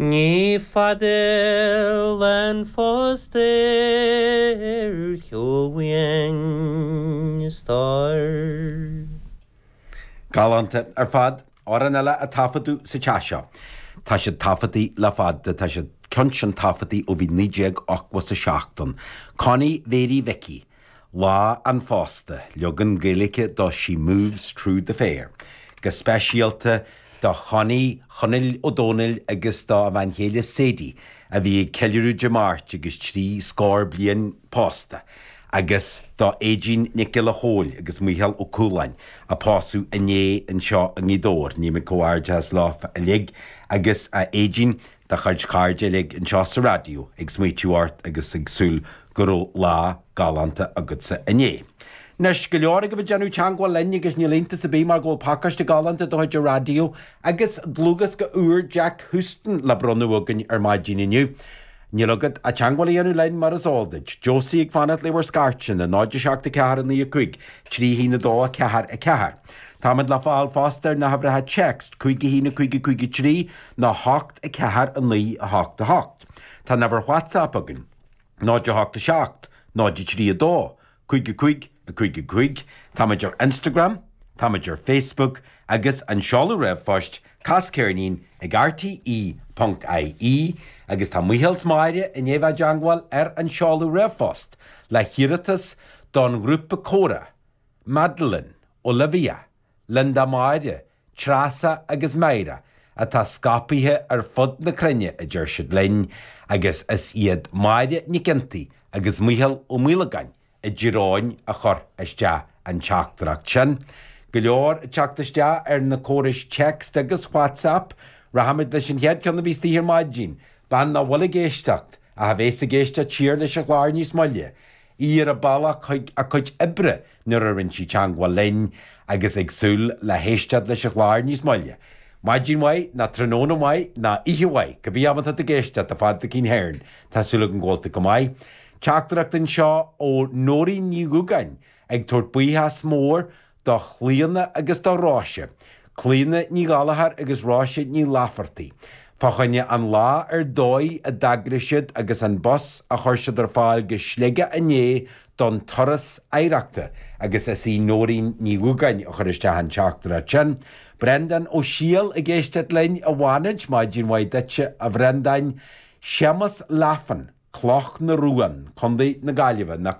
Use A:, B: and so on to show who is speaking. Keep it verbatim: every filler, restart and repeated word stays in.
A: Ní fada lá an phósta ar shiúl uainn, a stór.
B: Galánta ar fad, amhrán eile a taifeadadh sa teach seo. Tá siad taifeadta le fada, tá siad ceann sin taifeadta ó bhí naoi déag ochtó is a seacht ann. Connie Mhéirí Mhicí, Lá an Phósta, leagan Gaeilge do She Moves Through the Fair. Go speisialta do Chonnie Chonaill Ó Dónaill agus dá bhean chéile Sadie a bhí ag ceiliúradh Dé Máirt agus trí scór bliain pósta, agus do Aedín Nic Giolla Chóill agus Mícheál Ó Cualáin a pósadh inné anseo i nGaoth Dobhair. Guímid comhghairdeas leo uilig agus a Aedín do chuid cairde uilig anseo sa raidió ag smaoitiú ort agus ag súil go raibh lá galánta agatsa inné. Anois go leor agaibh ag déanamh teagmháil linn agus níl iontas ar bith mar go bhfuil pacáiste galánta de chuid an raidió agus dlúthdhiosca úr Jack Houston le bronnadh againn ar maidin inniu. Níl agat ach teagmháil a dhéanamh linn mar is eol duit. Josie ag fanacht le bhur scairteanna, náid a seacht a ceathair a naoi a cúig, trí haon a dó a ceathair a ceathair. Táimid le fáil fosta ar na huimhreacha text, cúig a haon a cúig a cúig a trí nó hocht a ceathair a naoi a hocht a hocht. Tá an uimhir WhatsApp againn, náid a hocht a seacht, náid a trí a dó, cúig a cúig a cúig a cúig. Táimid ar Instagram, táimid ar Facebook agus an seoladh ríomhphoist cas ceirnín ag R T E ponc I E agus tá Mícheál 's Máire i ndiaidh bheith i dteagmháil ar an seoladh ríomhphost le hiarratas don ghrúpa comhrá, Madeline, Olivia, Linda Máire, Treasa agus Máire atá scaipthe ar fud na cruinne a deir siad linn agus is iad Máire Nic Iontaigh agus Mícheál Ó Maolagáin i dTír Eoghain a chuir isteach an teachtaireacht sin. Go leor ag teacht isteach ar na córais text agus WhatsApp, rachaimid leis an chéad ceann a bhí istigh ar maidin, bean nach bhfuil ag éisteacht ach a bheas ag éisteacht siar leis an chlár níos moille. Í ar a bealach chuig a cuid oibre nuair a rinne sí teagmháil linn agus ag súil le héisteacht leis an chlár níos moille. Maidin mhaith ná tráthnóna maith ná oíche mhaith, cibé am atá tú ag éisteacht a Phadraicín Hearn, tá súil agam go bhfuil tú go maith. Teachtaireacht anseo ó Nóirín Ní Dhúgáin ag tabhairt buíochas mór do Chlíona agus do Róise. Clíona Ní Ghallchóir agus Róise Ní Laifeartaigh. Fá choinne an lá ar dóigh a d'eagraigh siad agus an bus a chuir siad ar fáil go Sligeach inné don turas oidhreachta agus is í Nóirín Ní Dhúgáin a chuir isteach an teachtaireacht sin. Brendan Ó Sial ag éisteacht linn i bhFánaid, maidin mhaith duitse a Bhrendáin, Séamus Laffan, Cloch na Rún, Contae na Gaillimhe, na